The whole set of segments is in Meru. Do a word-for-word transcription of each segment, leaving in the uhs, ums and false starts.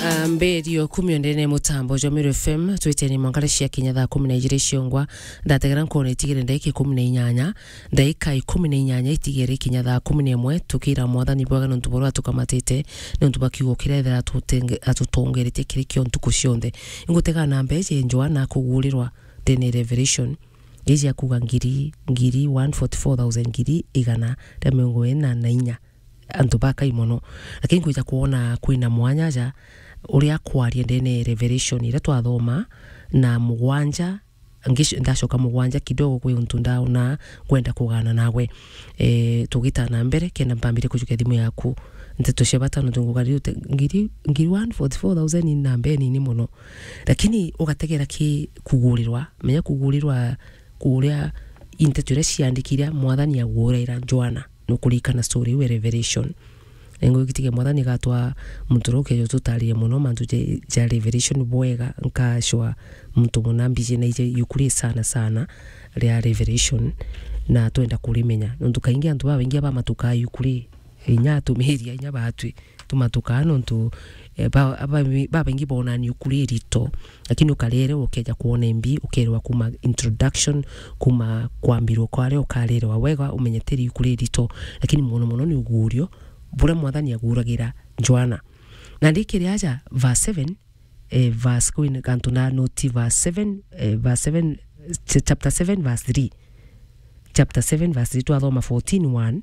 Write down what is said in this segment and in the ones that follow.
Ah, mberio kumi o ndene mutambo jwa Meru F M, twiteni mwanka cia kinya thaa kumi na ijiri ciongwa, ndategera nkona itigere ndaika ikumi na inyanya, ndaika ikumi na inyanya itigere kinya thaa kumi na imwe, tukira Mwathani bwega nontu bwa uria atukamatite, nontu bwa kiugo kiria ethera atutenge-, atutongeretie kiri kio ntuku cionthe. Ingutega na mbeje Joana kugurirwa ndene Revelation, iji akuga ngiri, ngiri one forty-four thousand, ngiri igana ria mirongo ina na inya. Antu bakai mono. Lakini nkwija kwona kwina mwanya aja uria kwaria ndene Revelation iria twathoma na mugwanja, ngic-, ndacoka mugwanja kidogo kwi untu ndaona ngwenda kugana nawe. Eh, tugita na mbere, kenda mpambire kujukia thimu yaku. Nteto cia bata nontu nguga riu te-, ngiri, ngiri one forty-four thousand ni namba inini mono. Lakini ugategera ki kugurirwa, menya kugurirwa kuria i nteto iria ciandikire Mwathani agurira Joana. Nukuririkana story iu ya Revelation. Na ingwitikia Mwathani agatwa muntu uria ukeja ututarire mono mantu ja, ja Revelation bwega, nkacwa muntu muna mbiji na ije iuku ri sana sana ria Revelation, na twenda kurimenya. Nontu kaingi antu babaingi abamatukaa iuku ri, inya atumiria, inya batwi tumatukaa nontu, eh, ba-, aba-, babaingi bonani iuku ri rito. Lakini ukarerewa ukeja kwona imbi, ukerewa kuma introduction, kuma kwambirwa kwaria, ukarerewa wega, umenye tiri iuku ri rito. Lakini mono mono ni ugurio buria Mwathani aguragira Joana. Na ndikiri aja verse seven, eh, verse kwina kantu na noti verse seven, eh, verse seven, ch-, chapter seven verse three. Chapter seven verse three, twathoma fourteen one,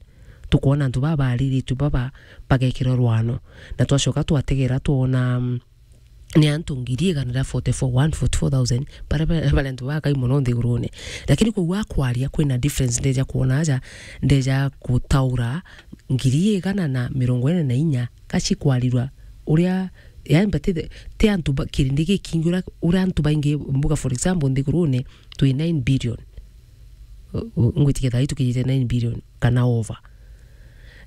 tukwona antu baba bariritwe baba bagekirwa rwano. Na twacoka twategera twona, mm, ni antu ngiri igana ria forty-four, one forty-four thousand, baria ba-, baria antu bakai mono nthigurune. Lakini kwou akwaria kwina difference ndeja kwona aja, ndeja gutaura ngiri igana na mirongo ina na inya, gaci kwarirwa uria, yani, but ti, ti antu ba-, kirindi gikingi uria, uria antu baingi mbuga, for example, nthigurune twi nine billion. U-, u-, ngwitikia thaa ii tukinyite nine billion kana over.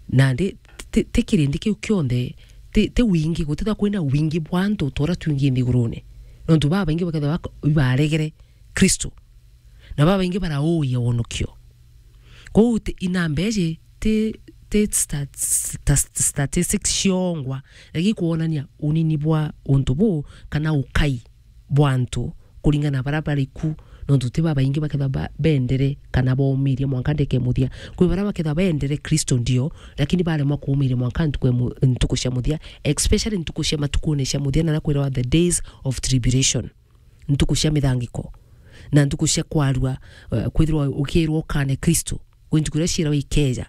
Nandi ti, ti kirindi kiu kionthe, ti, ti wingi, gutithwa kwina wingi bwa antu ta uria twingi nthigurune. Nontu babaingi bakethirwa bak-, ibaregere Kristo. Na babaingi barauia wonokio. Kwou ti, inamba iji ti, ti stat-, sta-, statistics ciongwa, lakini kwonania unini bwa untu buu kana ukai bwa antu kuringana na baria bari ku, nontu ti babaingi bakethirwa ba-, bendere kana baumirie mwanka ndeke muthia. Kwi baria bakethirwa bendere Kristo ndio, lakini baremwa kuumiria mwanka ntuku ya mu-, ntuku cia muthia, especially ntuku cia matukune cia muthia, na kwirawa the days of tribulation. Ntuku cia mithangiko, na ntuku cia kwarua, eh, kwithirwa ukirwa ukane Kristo, kwi ntuku iria ciiragwa ikeja.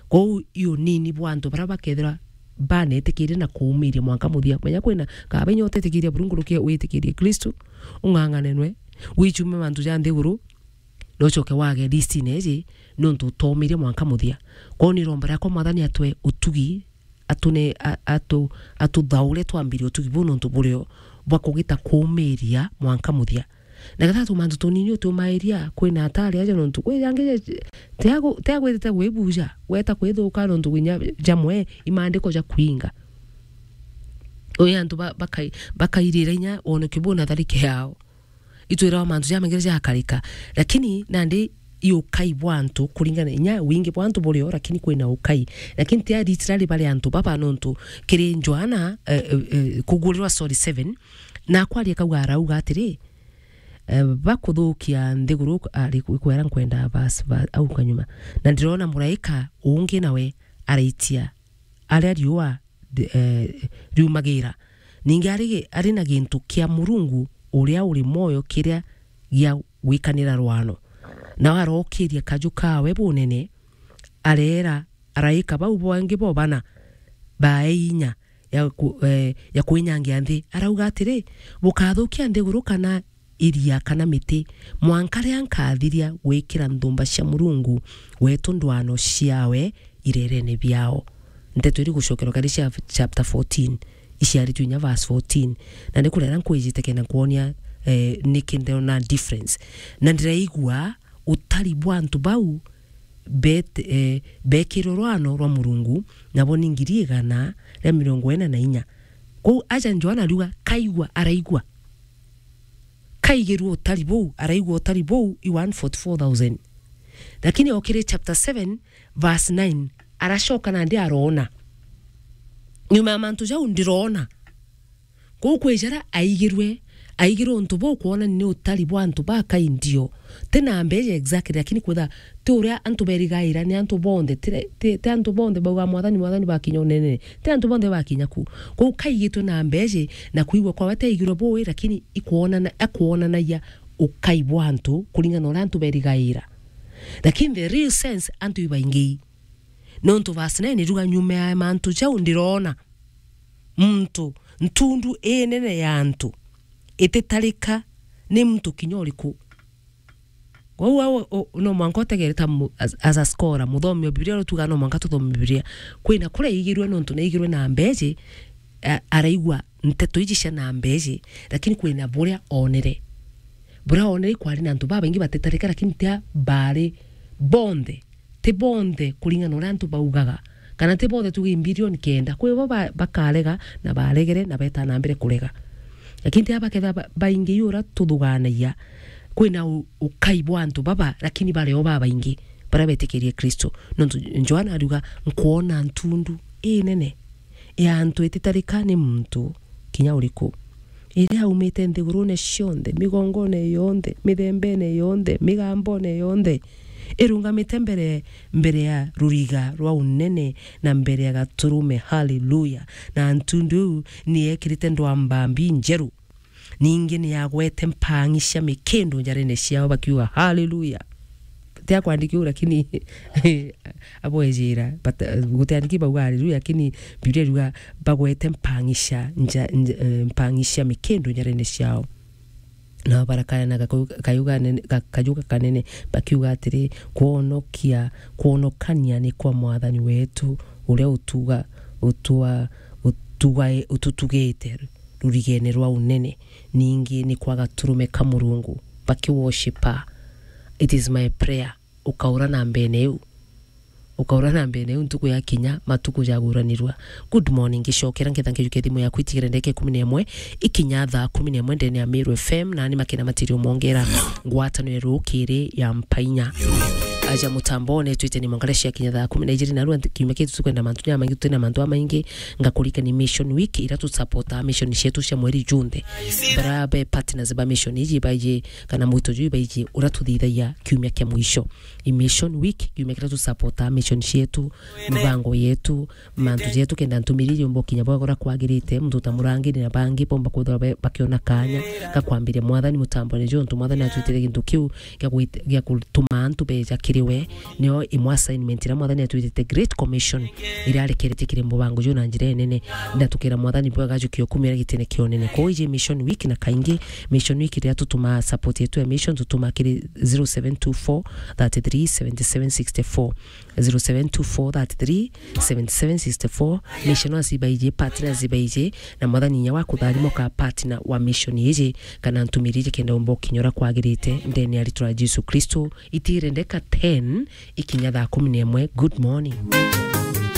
Kwou i unini bwa antu baria bakethirwa banetikirie na kuumiria mwanka muthia. Menya kwina kaba inya utetikiria Murungu rukie witikirie Kristo, ung'ang'ane nwe, wichume mantu ja nthiguru, na ucoke wage listine iji, nontu utaumiria mwanka muthia. Kwou ni iromba riakwa Mwathani atwe utugi, atune-, a-, atu-, atuthaure twambirie utugi buu nontu burio bwa kugita kuumiria mwanka muthia. Na gathatu mantu tunini utiumairia, kwina atari aja nontu kwi jangi ja-, tiagu-, tiagwitite gwibuja, gweta kwithuka nontu kinya jamwe i maandiko ja kwinga. Ui antu ba-, bakai-, bakairira inya wonokio buu na tharike yao. Itwirawa mantu jamaingi jagakarika. Lakini nandi i ukai bwa antu kuringana inya wingi bwa antu burio, lakini kwina ukai. Lakini ti aricirari bari antu baba nontu kiri Joana, eh, eh, eh, Kugurirwa, sorry, seven, na akwaria kauga arauga atiri, eh, bakuthukia nthiguru, ari ku-, kwera nkwenda verse, va-, au kanyuma. Na ndirona muraika ungi nawe araitia aria riua ri-, eh, riumagira. Ningi ari, ari na gintu kia Murungu uria uri mwoyo kiria gia gwikanira rwano. Nao arokiria kaju kawe bunene, areera araika bau bangi bo bana bae inya ya ku-, eh, ya kwinyangia nthi. Arauga atiri, "Bukathukia nthiguru kana iria kana miti, mwanka riria nkathiria gwikira nthumba cia Murungu wetu ndwano ciawe irerene biao." Nteto iri gucokerwa kari cia chapter fourteen, iciaritwe inya verse fourteen. Na ni kurera nkwijite kenda nkwonia, eh, niki ndona difference. Na ndiraigua utari bwa antu bau bet-, eh, bekirwe rwano rwa Murungu, nabo ni ngiri igana ria mirongo ina na inya. Kwou aja Joana ariuga, kaigua, araigua. Kaigirwe utari buu, araigua utari buu, i one forty-four thousand. Lakini okiri chapter seven, verse nine, aracoka nandi aroona. Nyuma ya mantu jau ndiroona. Kou kwi jara aigirwe, aigirwe untu buu kwona ni utari bwa antu bakai ndio. Ti na mbeeja exactly, lakini kwitha ti uria antu berigaira, ni antu bonthe, ti re-, ti, ti antu bonthe bauga, "Mwathani, Mwathani," bakinya unenene. Ti antu bonthe bakinya ku. Kou kaigitwe na mbeeja, na kwigua kwawe ti aigirwe buu, lakini ikwonana-, akwonanagia ukai bwa antu kuringana na uria antu berigaira. Lakini the real sense, antu ibaingi. Nontu verse nine iruga, "Nyuma ya mantu jau ndirona muntu, ntundu inene ya antu, ititarika ni muntu kinya uriku." Kwou au, u-, no mwanka utegere ta mu-, as, as a scholar, muthomi wa Biblia, uria tugaga no mwanka tuthome Biblia. Kwina kuria aigirwe nontu naigirwe na mbeeji, a-, araigua nteto iji cia na mbeeji, lakini kwina buria onere. Buria onere kwari na antu babaingi batitarika, lakini tia bari bonthe. Ti bonthe kuringana na uria antu baugaga, kana ti bonthe tuge i mbilioni kenda. Kwi bo ba-, bakarega na baregere na beta na mbere kurega. Lakini ti aba kethira ba-, baingi uria tuthuganagia, kwina u-, ukai bwa antu baba, lakini bari o babaingi baria betikirie Kristo. Nontu Johana ariuga, "Nkwona ntundu inene ya antu ititarika ni muntu kinya uriku, iria yaumite nthigurune cionthe, migongone yonthe, mithembene yonthe, migambone yonthe, irungamite mbere, mbere ya ruriga rwa unene na mbere ya gaturume." Haleluya! "Na ntundu iu ni yekirite ndwamba mbi njeru, ningi ni yagwete mpang'i cia mikindu njarene ciao," bakiuga, "Haleluya!" Ti akwandiki uu, lakini abwejira, but, uh, gutiandiki bauga haleluya, lakini Biblia iruga, "Bagwete mpang'i cia nja-, nja-, eh, mpang'i cia mikindu njarene ciao." Nao barakayana gakau-, kayuga nene, ga-, kayuga kanene, bakiuga atiri, "Kwonokia, kwonokania ni kwa Mwathani wetu, uria utuga, utua-, utugae-, ututugite rurigene rwa unene, ningi ni kwa gaturume ka Murungu." Bakiworshipa. It is my prayer, ukaura na mbene iu. Ukaura na mbene iu, ntuku yakinya, matuku jaguranirwa. Good morning, ngicokera, nketha nkijukia thimu yaku itigere ndeke ikumi na imwe, ikinya thaa kumi na imwe ndene ya Meru F M, na ni makina matirio mongera ngwataniro ya rukiri ya mpainya. Aja mutambone, twite ni mongere ciakinya thaa kumi na ijiri, na rua kiumia kitu tukwenda mantu jamaingi, twina mantu amaingi, ngakurika ni Mission Week, ira tu support mission cietu cia mweri junthe. Bara be partners ba mission iji baiji, kana mwito juu baiji, ura tuthithagia kiumia kia mwisho. I Mission Week, kiumia kiria tu support mission cietu, mibango yetu, mantu jetu, kenda ntumiri jomba kinya bwagora kwagirite, muntu ta murangiri na bangi bomba kwithirwa be-, bakiona kanya ga kwambiria Mwathani mutambone jo, ntu Mwathani atwitire gintu kiu gia gwit-, gia gutuma antu beja kiri we. Nio imwe assignment iria Mwathani atwitite, Great Commission, iria arekeretie kiri mubango juu na njira inene. Na tukira Mwathani bwega ajukie ukumira gitine kia unene. Kwa iji Mission Week, na kaingi Mission Week iria tutuma support yetu ya mission, tutuma kiri zero seven two four thirty three seventy seven sixty four. Zero seven two four thirty three seventy seven sixty four. Mission acibaiji, partner acibaiji, na Mwathani inya wa kutharima ka partner wa mission iji, kana ntumiri iji kenda umba ukinya uria kwagirite, ndene ya ritwa ria Jesu Kristo. Itire ndeka ten ikinya thaa kumi na imwe. Good morning.